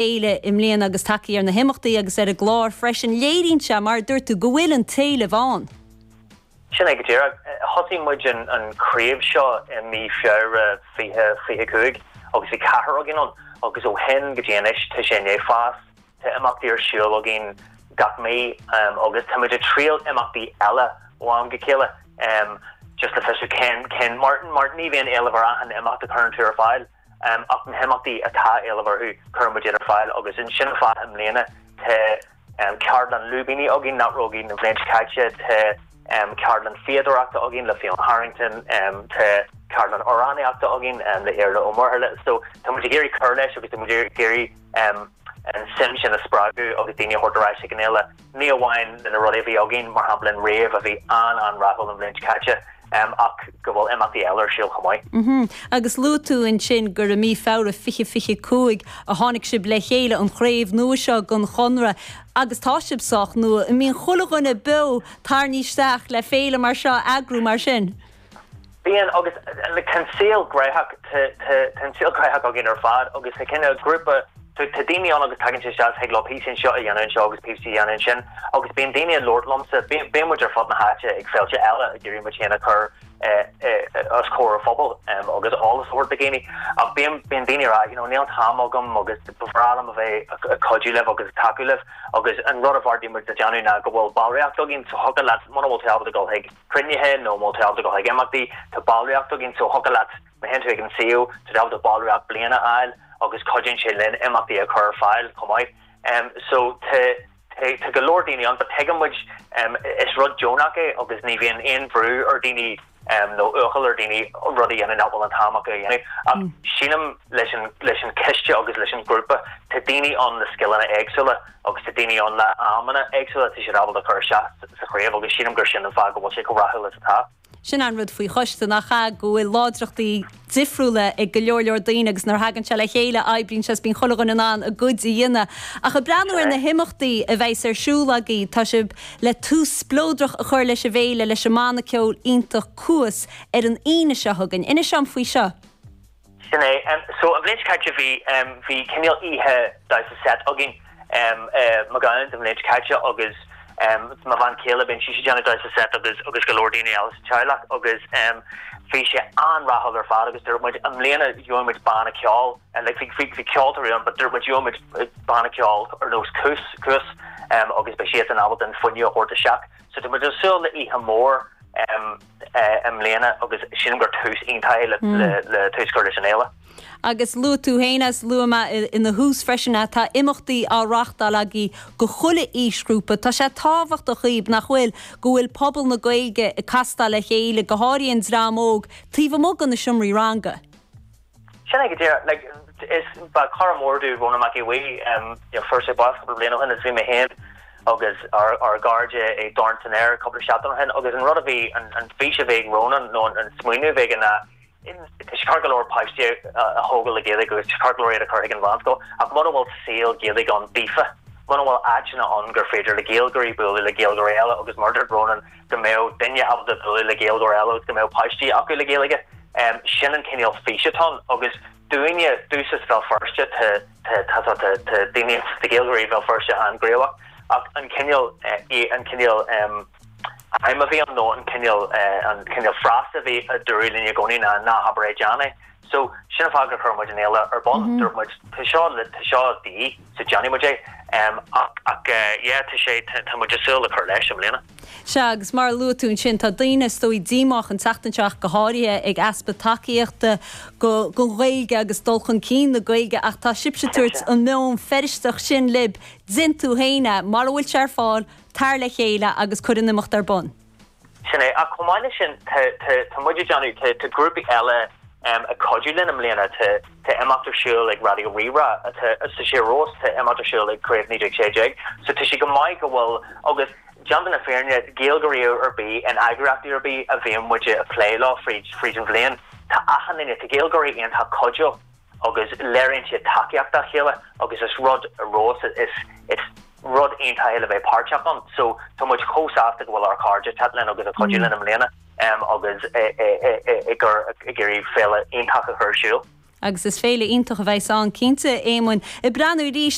Fhéile i mbliana agus tagtha ar na himeachtaí agus ar an gclár freisin. Léiríonn sé, mar a dúirt tú, go bhfuil an t-éileamh ann. Sin é go díreach. Thosaigh muid an chraobh seo i mí Feabhra 2025 agus bhí ceathrar againn ann agus ó shin go dtí anois tá sé i ndiaidh fás. Tá imeachtaí ar siúl againn gach mí agus tá muid ag triail imeachtaí eile ó am go chéile just le fiosrú cén, cén, mar, mar ní bhíonn éileamh ar achan imeacht a chuireann tú ar fáil. Ach na himeachtaí atá éileamh orthu, cuireann muid iad ar fáil agus sin an fáth i mbliana tá ceardlann lúibíní againn nach raibh againn an bhliain seo caite, tá ceardlann fíodóireachta againn le Fiona Harrington, tá ceardlann amhránaíochta againn le Iarla Ó Muirthile. So tá muid ag iarraidh cur leis agus tá muid ag iarraidh an suim sin a spreagadh agus daoine a thabhairt ar ais chuig an fhéile. Ní amháin na rudaí a bhí againn, mar shampla an rave a bhí an-an-rathúil an bhliain seo caite, ach go bhfuil imeachtaí eile ar siúl chomh maith. Agus luaigh tú ansin gur i mí Feabhra 2025 a tháinig sibh le chéile, an chraobh nua seo den Chonradh, agus tá sibh sách nua. An mbíonn chuile dhuine beo tarraingthe isteach le féile mar seo a eagrú mar sin? Bíonn, agus tá an saol gnóthach, tá an saol gnóthach againn ar fad agus tá cineál grúpa, tá daoine ann agus tagann siad isteach, thig leo píosa anseo a dhéanamh anseo agus píosa a dhéanamh ansin agus bíonn daoine ag labhairt liomsa, bíonn muid ar fud na háite ag féilte eile ag iarraidh muid féin a chur os comhair an phobail agus eolas a thabhairt do dhaoine ach bíonn bíonn daoine ag rá you know níl an t-am agam agus ba bhreá liom a bheith ag cuidiú libh agus ag tacú libh agus an rud a bheartaigh muid le déanamh ná go bhfuil ballraíocht againn so thiocfadh leat muna bhfuil tú ábalta dul chuig cruinnithe nó má tá tú ábalta dul chuig imeachtaí, tá ballraíocht againn so thiocfadh leat, má théann tú ag an suíomh, tá tú ábalta ballraíocht bliana a fháil agus cuidíonn sé linn imeachtaí a chur ar fáil chomh maith. So tá, tá, tá go leor daoine ann but tuigeann muid, is rud deonach é agus ní bhíonn aon bhrú ar daoine nó uachaill ar daoine rud a dhéanamh nach bhfuil an t-am acu a dhéanamh. Ach sílim leis an, leis an choiste agus leis an ghrúpa, tá daoine ann le scileanna éagsúla agus tá daoine ann le amanna éagsúla, tá siad ábalta cur isteach sa chraobh agus sílim gur sin an fáth go bhfuil sé chomh rathúil is atá. Sin an rud faoi choiste, nach ea, go bhfuil láidreachtaí difriúla ag go leor leor daoine agus nuair a thagann sé le chéile oibríonn sé is bíonn chuile dhuine in ann a gcuid a dhéanamh. Ach ag breathnú ar na himeachtaí a bheas ar siúl agaibh, tá sibh le tús spleodrach a chur leis an bhféile leis an mbanna ceoil iontach Cuas ar an Aoine seo chugainn. Inis dom faoi seo. Sin é. So an bhliain seo caite bhí, bhí cineál oíche damhsa seit againn i McGowan's an bhliain seo caite agus mo bhean chéile, bíonn sise ag déanamh damhsa seit agus, agus go leor daoine eile sa teaghlach agus bhí sé an-rathúil ar fad agus dúirt muid i mbliana gheobhaidh muid banna ceoil, like bhí, bhí, bhí ceoltóirí ann but dúirt muid gheobhaidh muid banna ceoil ar nós Cuas, Cuas agus beidh siadsan ábalta an fuinneamh a thabhairt isteach. So tá muid ag súil le oíche mhór i mbliana agus sílim gur tús iontach é le tús a chur leis an fhéile. Agus luaigh tú féin agus luaigh mé ina thús freisin é, tá imeachtaí á reáchtáil agaibh go chuile aoisghrúpa. Tá sé tábhachtach dhaoibh, nach bhfuil, go bhfuil pobal na Gaeilge ag castáil le chéile, go háirithe an dream óg, taobh amuigh de na seomraí ranga. Sin é go díreach. Like, is, ba chara mór domh Rónán Mac Aodha Bhuí, you know, fuair sé bás cúpla bliain ó shin agus bhí mé féin agus ár, ár gcairde ag Dorn san Aer cúpla seachtain ó shin agus an rud a bhí, an, an fís a bhí ag Rónán nó an, an smaoineamh a bhí aige ná tá sé ceart go leor páistí a, a thógáil le Gaeilge agus tá sé ceart go leor iad a chur chuig an mheánscoil ach muna bhfuil saol Gaeilge ann daofa, muna bhfuil áiteanna ann gur féidir le Gaeilgeoirí bualadh le Gaeilgeoirí eile agus mar a dúirt Rónán, go mbeadh duine ábalta bualadh le Gaeilgeoir eile agus go mbeadh páistí acu le Gaeilge. Sin an cineál fís atá ann agus dúinne, domhsa sa Bhéal Feirste, tá, tá, tá, tá, tá daoine, tá Gaeilgeoirí Bhéal Feirste an-ghníomhach ach an cineál, an cineál aidhm a bhí ann nó an cineál, an cineál frása a bhí a dúradh linn i gcónaí ná ná habair é, déan é. So, sin an fáth gur chuir muid an fhéile ar bun. Dúirt muid, tá seo, tá seo de dhíth, so déanfaidh muid é. Ach, ach, yeah, tá sé, tá muid ag súil le cur leis i mbliana. Sea, agus mar a luaigh tú ansin, tá daoine, is dóigh, díomách an tseachtain seo ach go háirithe ag easpa tacaíochta go, don Ghaeilge agus dul chun cinn na Gaeilge ach tá sibhse ag tabhairt an meon Feirsteach sin libh, déan tú féin é, mara bhfuil sé ar fáil, tar le chéile agus cuir an imeacht ar bun. Sin é. Ach chomh maith leis sin, tá, tá, tá muid ag déanamh, tá, tá grúpaí eile ag cuidiú linn i mbliana. Tá, tá imeacht ar siúl ag Raidió Rí-Rá, tá, tá sé ar fheabhas, tá imeacht ar siúl ag Craobh 1916. So tá sé go maith go bhfuil, agus déanta na fírinne, Gaeilgeoirí ar bith in eagraíochtaí ar bith a bhíonn muid ag plé leo fríd, fríd an bhliain, tá achan duine, tá Gaeilgeoirí iontach cuidiúil agus léiríonn siad tacaíocht dá chéile agus is rud ar fheabhas, is, is rud iontach é le bheith páirteach ann. So tá muid chomh sásta go bhfuil ár cairde ag teacht linn agus ag cuidiú linn i mbliana agus ag iarraidh féile iontach a chur ar siúl. Agus is féile iontach a bheas ann cinnte, Éamoinn. Ag breathnú arís.